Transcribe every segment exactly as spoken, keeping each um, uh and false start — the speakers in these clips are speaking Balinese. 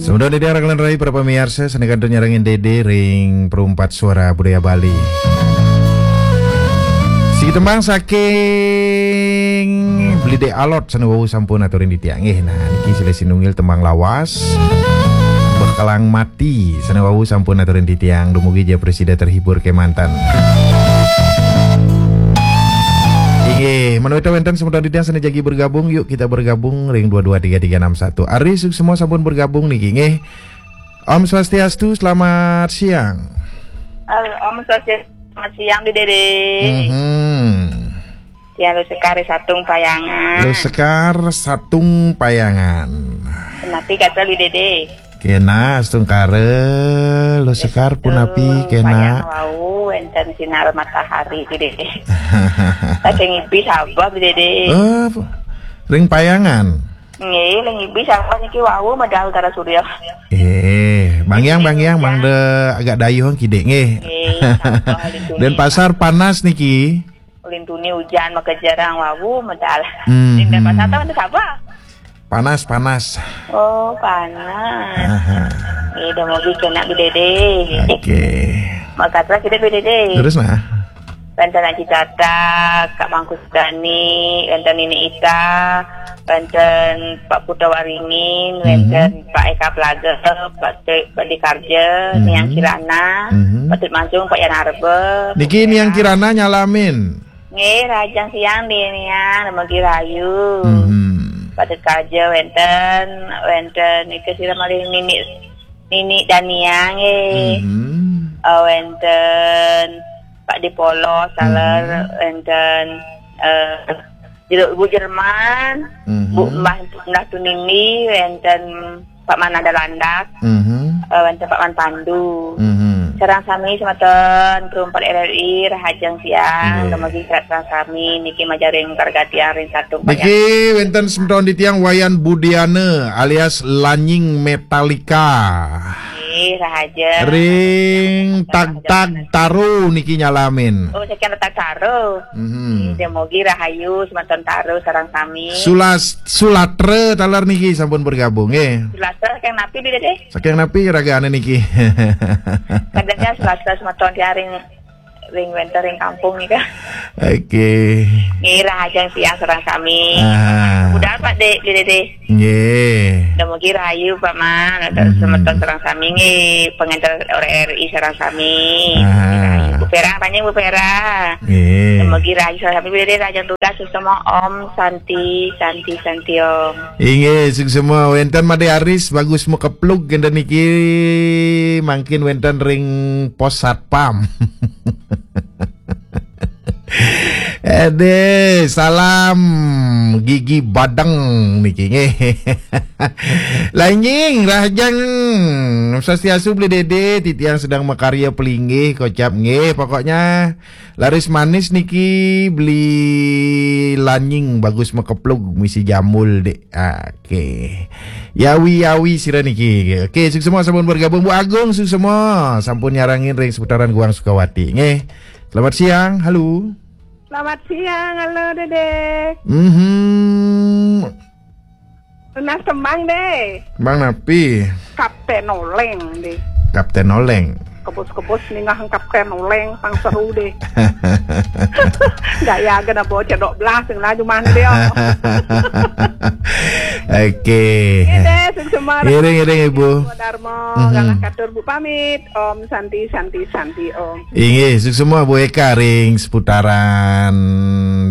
Semeton titiang raglan rai para pamiarsa, sané kantun nyarengin Dédé ring Perumpat Suara Budaya Bali. Siki tembang saking Beli Dé Alot sané wau sampun aturin titiang. Nggih, nah niki silih sinunggil tembang lawas. Bekelang Mati sané wau sampun aturin titiang. Dumugi ja prasida terhibur kémanten. Inggih, menawi wénten semeton titiang sané jagi bergabung, yuk kita bergabung ring dua dua tiga tiga enam satu. Ari suksma sampun bergabung niki, nggih. Om Swastiastu, selamat siang. Halo, Om Swastiastu, selamat siang, Dédé. Mhm. Tiang Lusekar Satung Payangan. Lusekar Satung Payangan. Napi gatra, Dédé? Kénak, astungkara, Lusekar punapi, Payangan kénak? Wau, wénten sinar matahari, Dédé. Saking ngipi Sabah, Dédé. Eh, ring Payangan? Nggih, ring ngipi Sabah niki wau medal Utara Surya. Eh, bangyang, bangyang, mangda agak dayuh kidik, nggih. Nggih, Sabah, Dénpasar panas niki. Ulin tuni ujan makejerang wau medal. Hmm, Dénpasar tahu Sabah? Panas, panas. Oh, panas. Aha. Nggih, dumugi kénak, Dédé. Oke. Makasih kita, Dédé. Terus, nah. Wénten Aji Tata, Kak Mangku Sudani, wénten Nini Ita, wénten Pak Putra Waringin, wénten Pak Eka Plaga, Pak Tri, Pak Dikarja, Niang Kirana, Pak Tut Mansung, Pak Yan Arba. Niki Niang Kirana nyalamin. Nggih, rahajeng siang, Niang, dumugi rahayu. Mhm. Pak Tut Karja wénten, wénten nika sira malih Nini, Nini Dania nggih. Mhm. Eh, wénten Pak Dipolo, taler, wénten, eh, Jero-, Bu Jerman, Bu Mbah, Mbah Tunini, wénten Pak Mananda Landak, eh, wénten Pak Man Pandu. Mhm. Sareng sami semeton Perumpat R R I, rahajeng siang, dumugi sareng sami niki majaring kargatian ring Satung Payangan. Niki wénten semeton titiang Wayan Budiana alias Lanying Metallica. Nggih, rahajeng. Ring Tagtag Taro niki nyalamin. Oh, saking Tagtag Taro. Mhm. Nggih, dumugi rahayu semeton Taro sareng sami. Sulas-, Sulatra taler niki sampun bergabung, nggih. Sulatra saking napi, Dédé? Saking napi ragané niki? Kadangnya Sulatra semeton tiang ring, ring wénten ring kampung nika. Oke. Nggih, rahajeng siang sareng sami. Aha. Budal, Pak Dé, Dédé. Nggih. Dumugi rahayu, Pak Man, semeton sareng sami nggih, pengenter R R I sareng sami. Aha. Bu Pera, panjang Bu Pera. Nggih. Dumugi rahayu sareng sami, Dédé, rahajeng tugas, suksma, Om Santi, Santi, Santi, Om. Inggih, suksma. Wénten Madé Aris, Bagus Makeplug, kénten niki mangkin wénten ring Pos Satpam. Ade, salam gigi badeng niki nggih. Lanying, rahajeng Swastiastu Beli Dédé, titiang sedang makarya pelinggih, kocap nggih. Pokoknya laris manis niki Beli Lanying, Bagus Makeplug, misi jambul, Dék. Oke. Yawi-yawi sira niki. Oke, suksma sampun bergabung. Bu Agung, suksma sampun nyarengin ring seputaran Guang Sukawati. Nggih. Selamat siang. Halo. Selamat siang. Halo, Dédé. Mhm. Nunas tembang, Dé. Tembang napi? Kapten Oleng, Dé. Kapten Oleng. Kebus-kebus ningeh Kapten Oleng, pang seru, Dé. Gaya gena bawa cedok belas, sing laju mandi, oh. Oke. Nggih, Dé, sing semar. Ngiring-ngiring, Ibu. Darmo, mhm, galah katur, Bu, pamit. Om Santi, Santi, Santi, Om. Inggih, suksma Bu Eka ring seputaran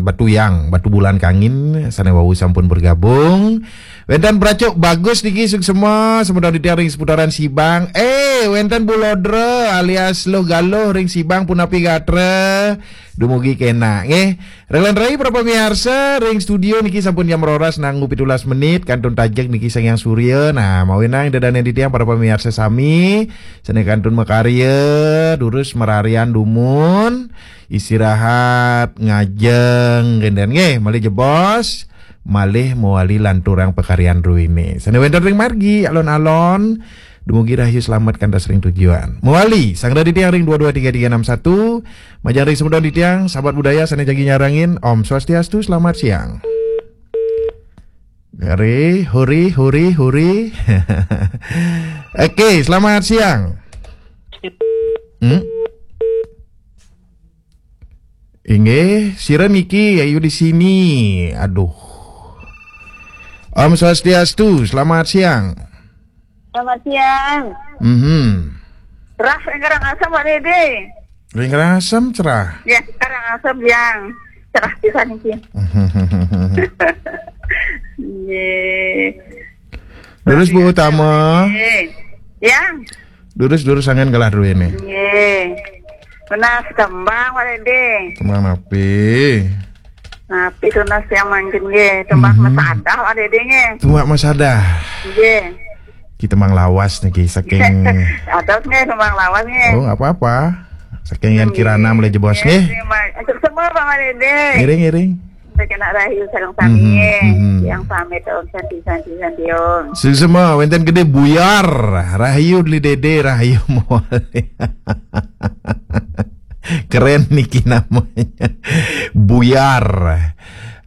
Batuyang, Batubulan Kangin, sané wau sampun bergabung. Wénten Pracuk Bagus niki suksma, semeton titiang ring seputaran Sibang. Eh, wénten Bu Lodra alias Luh Galuh ring Sibang, punapi gatra? Dumugi kénak, nggih. Raglan rai para pamiarsa, ring studio niki sampun jam roras nanggu pitulas menit, kantun tajeg niki Sang Hyang Surya. Nah, mawinan ida dané titiang para pamiarsa sami, sané kantun makarya, durus mararian dumun, istirahat, ngajeng, kénten nggih, malih jebos, malih mawali lanturang pakaryan druéné. Sané wénten ring margi, alon-alon, dumugi rahayu slamet kantos ring tujuan. Mawali, sang dadi tiang ring dua dua tiga tiga enam satu, majeng ring semeton titiang, sahabat budaya sané jagi nyarengin, Om Swastiastu, selamat siang. Hore, hore, hore, hore. Oke, selamat siang. Hmm? Inggih, sira niki, ayu di sini. Aduh. Om Swastiastu, selamat siang. Selamat siang. Mhm. Cerah ring Karangasem, Pak Dede. Ring Karangasem cerah. Ya, Karangasem yang cerah pisan iki. Nggih. Terus Bu Utama, Nggih. Ya, durus-durus anggen galah duwene. nggih. Tunas tembang, Pak Dede. Tembang napi? Napi tunas yang mangkin nggih, tembang Mhm. Masadah, Pak Dede nggih. Tumbak Masadah. Nggih. Kita mang lawas niki saking Adat nggih, tembang lawas nggih. Oh, nggak apa-apa. Saking Yan Kirana mulai jebos nggih. Terima kasih semua, Pak Dede. Ngiring, ngiring. Saya kena rahayu sareng sami Mhm, nggih. mhm. Yang pamit om santi santi santi om. Suksma, wenten gede buyar. Rahayu Deli Dede, rahayu mawali. Keren niki namanya. Buyar.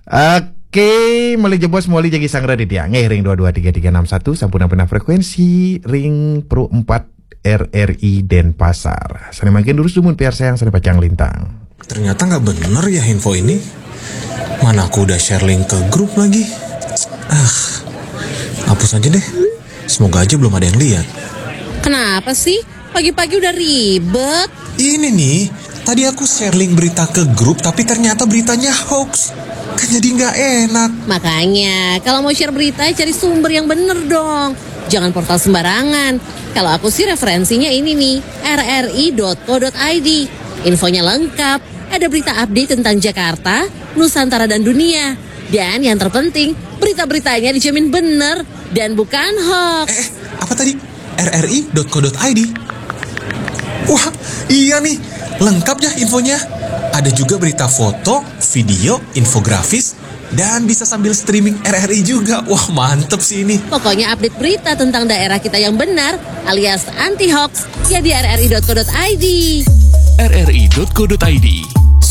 Oke, malih jebos mawali jagi sanggra di tiang. Nggih, ring dua dua tiga tiga enam satu, sampun ampun frekuensi, ring Pro empat R R I Denpasar. Sane mangkin durus dumun piarsayang sane pacang lintang. Ternyata nggak bener ya info ini. Mana aku udah share link ke grup lagi. Ah, hapus aja deh. Semoga aja belum ada yang lihat. Kenapa sih? Pagi-pagi udah ribet. Ini nih, tadi aku share link berita ke grup tapi ternyata beritanya hoax. Kan jadi nggak enak. Makanya, kalau mau share berita, cari sumber yang bener dong. Jangan portal sembarangan. Kalau aku sih referensinya ini nih, R R I dot co dot I D. Infonya lengkap, ada berita update tentang Jakarta, Nusantara dan dunia. Dan yang terpenting, berita-beritanya dijamin bener dan bukan hoax. Eh, apa tadi? R R I dot co dot I D. Wah, iya nih, lengkap ya infonya. Ada juga berita foto, video, infografis, dan bisa sambil streaming R R I juga. Wah, mantep sih ini. Pokoknya update berita tentang daerah kita yang benar alias anti hoax ya di R R I dot co dot I D. R R I dot co dot I D.